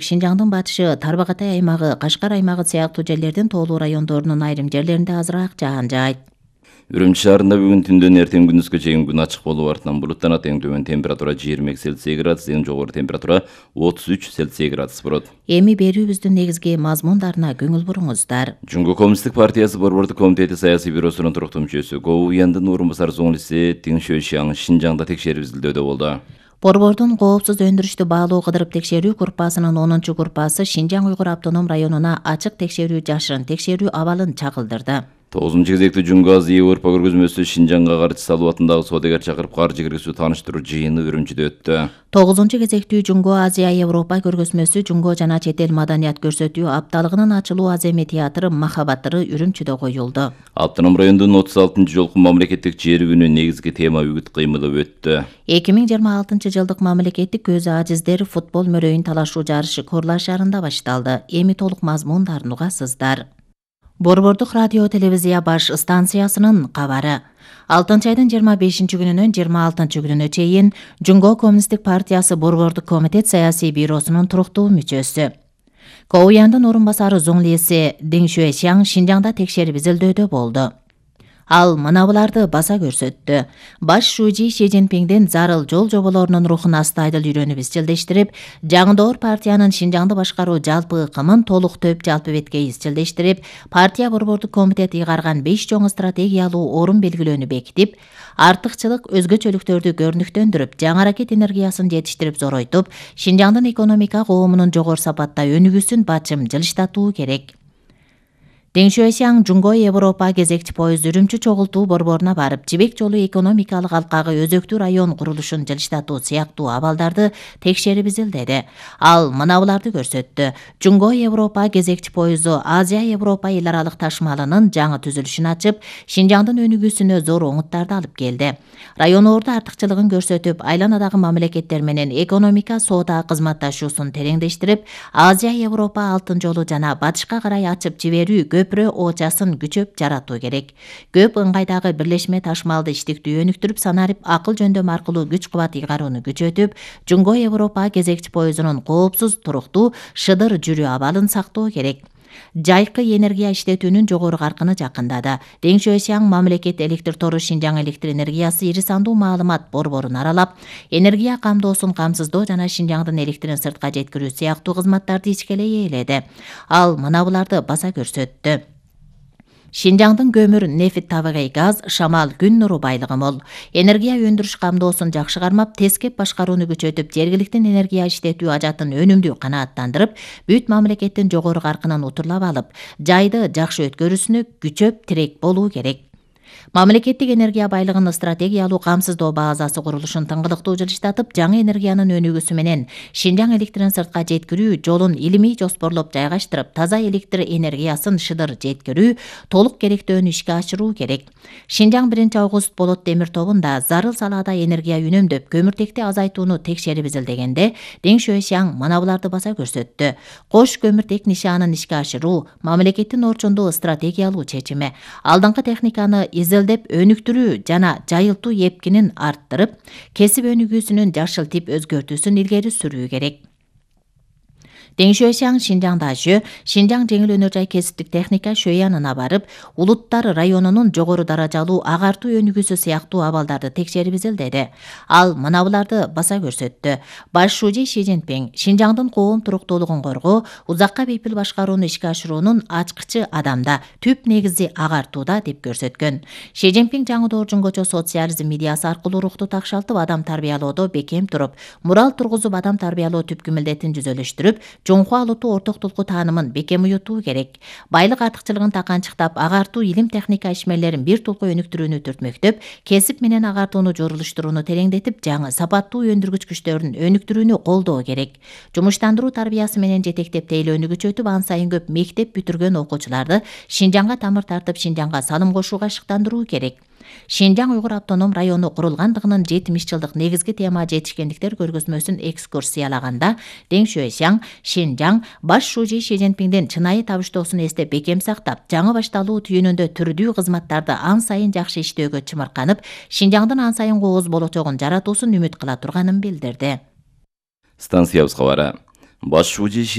Шинжаңдын батышы, Тарбакатай аймагы, Кашкар аймагы сыяктуу жерлердин тоолуу райондорунун айрым жерлеринде азыраак жаан жаайт. Үрүмчү шаарында бүгүн түндөн эртең күндүзгө чейин күн ачык болуп, артынан булуттан эң төмөн температура 22 Цельсий градус, эң жогору температура 33 Цельсий градус болот. Эми берүүбүздүн негизги мазмундарына көңүл буруңуздар. Жумго Коммунисттик партиясы Борбордук комитети саясий бюросунун туруктуу мүчөсү Го Уяндын орун басары Зоңлиси Тиң Шуэшяң Шинжаңда текшерип изилдөөдө болду. Борбордун коопсуз өндүрүштү баалоо кыдырып текшерүү группасынын 10 группасы Шинжаң Уйгур автоном районуна ачык текшерүү жашырын текшерүү абалын чагылдырды. 9-кезектүү Жумго Азия-Европа көргөзмөсү Шинжаңга каршы салуу атындагы соодагер чакырып каржы киргизүү тааныштыруу жыйыны Үрүмчүдө өттү. 9-кезектүү Жумго Азия-Европа көргөзмөсү Жумго жана чет эл маданият көрсөтүү апталыгынын ачылуу аземи театры Махабаттыры Үрүмчүдө коюлду. Автоном райондун 36-жолку мамлекеттик жер күнү негизги тема үгүт кыймылы өттү. 2026-жылдык мамлекеттик көз ажиздер футбол мөрөйүн талашуу жарышы Корла шаарында башталды. Эми толук мазмундарын угасыздар. Борбордук радио телевизия баш станциясынын кабары. 6-айдын 25-күнүнөн 26-күнүнө чейин Жумго Коммунисттик партиясы Борбордук комитет саясий бюросунун туруктуу мүчөсү Го Уяндын орун басары Зоңлиси Тиң Шуэшяң Шинжаңда текшерип изилдөөдө болду. Ал мынабуларды баса көрсөттү. Баш шужи Ши Цзиньпиңдин зарыл жол жоболорунун рухун астайдыл үйрөнүп изчилдештирип, жаңдоор партиянын Шинжаңды башкаруу жалпы ыкымын толук төп жалпы бетке изчилдештирип, партия Борбордук комитет ыйгарган 5 чоң стратегиялуу орун белгилөөнү бекитип, артыкчылык өзгөчөлүктөрдү көрүнүктөндүрүп, жаңы аракет энергиясын жетиштирип зоройтуп, Шинжаңдын экономика коомунун жогору сапатта өнүгүүсүн бачым жылыштатуу керек. Тиң Шуэшяң Жумго Европа кезекчи поезд Үрүмчү чогултуу борборуна барып, жибек жолу экономикалык алкагы өзөктүү район курулушун жылыштатуу сыяктуу абалдарды текшерип изилдеди. Ал мынабуларды көрсөттү. Жумго Европа кезекчи поезду Азия Европа эл аралык ташмалынын жаңы түзүлүшүн ачып, Шинжаңдын өнүгүүсүнө зор оңуттарды алып келди. Райондордо артыкчылыгын көрсөтүп, айланадагы мамлекеттер менен экономика соода кызматташуусун тереңдештирип, Азия Европа алтын жолу жана батышка карай ачып жиберүү көпүрө оочасын күчөп жаратуу керек. Көп ыңгайдагы бирлешме ташмалды иштиктүү өнүктүрүп, санарип акыл жөндөм аркылуу күч кубат ыйгарууну күчөтүп, Жумго Европа кезекчи поездунун коопсуз, туруктуу, шыдыр жүрүү абалын сактоо керек. Жайкы энергия иштетүүнүн жогору каркыны жакындады. Тиң Шуэшяң мамлекет электр тору Шинжаң электр энергиясы ири сандуу маалымат борборун аралап, энергия камдоосун камсыздоо жана Шинжаңдын электрин сыртка жеткирүү сыяктуу кызматтарды ичкелей ээледи. Ал мынабуларды баса көрсөттү. Шинжаңдын көмүр, нефт, табигый газ, шамал, күн нуру байлыгы мол. Энергия өндүрүш камдоосун жакшы кармап, тескеп башкарууну күчөтүп, жергиликтин энергия иштетүү ажатын өнүмдүү канааттандырып, бүт мамлекеттин жогору каркынын утурлап алып, жайды жакшы өткөрүүсүнө күчөп тирек болуу керек. Мамлекеттик энергия байлыгын стратегиялуу камсыздоо базасы курулушун тыңгылыктуу жылыштатып, жаңы энергиянын өнүгүүсү менен Шинжаң электрин сыртка жеткирүү жолун илимий жоспорлоп жайгаштырып, таза электр энергиясын шыдыр жеткирүү, толук керектөөнү ишке ашыруу керек. Шинжаң 1-август болот темир тобунда зарыл салаада энергия үнөмдөп, көмүртекти азайтууну текшерип изилдегенде, Тиң Шуэшяң мынабуларды баса көрсөттү. Кош көмүртек нишаанын ишке ашыруу мамлекеттин орчундуу стратегиялуу чечими. Алдыңкы техниканы изилдеп өнүктүрүү жана жайылтуу эпкинин арттырып, кесип өнүгүүсүнүн жашыл тип өзгөртүүсүн илгери сүрүү керек. Тиң Шуэшяң Шинжаңда Шинжаң жеңил өнөр жай кесиптик техника шөянына барып, улуттар районунун жогору даражалуу агартуу өнүгүүсү сыяктуу абалдарды текшерип изилдеди. Ал мынабуларды баса көрсөттү. Баш шужи Ши Цзиньпиң Шинжаңдын коом туруктуулугун коргоо, узакка бейпил башкарууну ишке ашыруунун ачкычы адамда, түп негизи агартууда деп көрсөткөн. Ши Цзиньпиң жаңы доор жунгочо социализм идеясы аркылуу рухту такшалтып, адам тарбиялоодо бекем туруп, мурал тургузуп, адам тарбиялоо түпкү милдетин жүзөлүштүрүп, жоңку алуутуу орток тулку таанымын бекем уютуу керек. Байлык артыкчылыгын таканчыктап, агартуу илим техника ишмерлерин бир тулку өнүктүрүүнү түртмөктөп, кесип менен агартууну жорулуштурууну тереңдетип, жаңы сапаттуу өндүргүч күчтөрүн өнүктүрүүнү колдоо керек. Жумуштандыруу тарбиясы менен жетектеп тейлөөнү күчөтүп, ан сайын көп мектеп бүтүргөн окуучуларды Шинжаңга тамыр тартып, Шинжаңга салым кошууга ашыктандыруу керек. Шинжаң Уйгур автоном району курулгандыгынын 70 жылдык негизги тема жетишкендиктер көргөзмөсүн экскурсиялаганда, Тиң Шуэшяң Шинжаң баш шужи Ши Цзиньпиңдин чынайы табыштоосун эстеп бекем сактап, жаңы башталуу түйүнүндө түрдүү кызматтарды ан сайын жакшы иштөөгө чымырканып, Шинжаңдын ан сайын кооз болочогун жаратуусун үмүт кыла турганын билдирди. Станциябыз кабары. Баш шуужи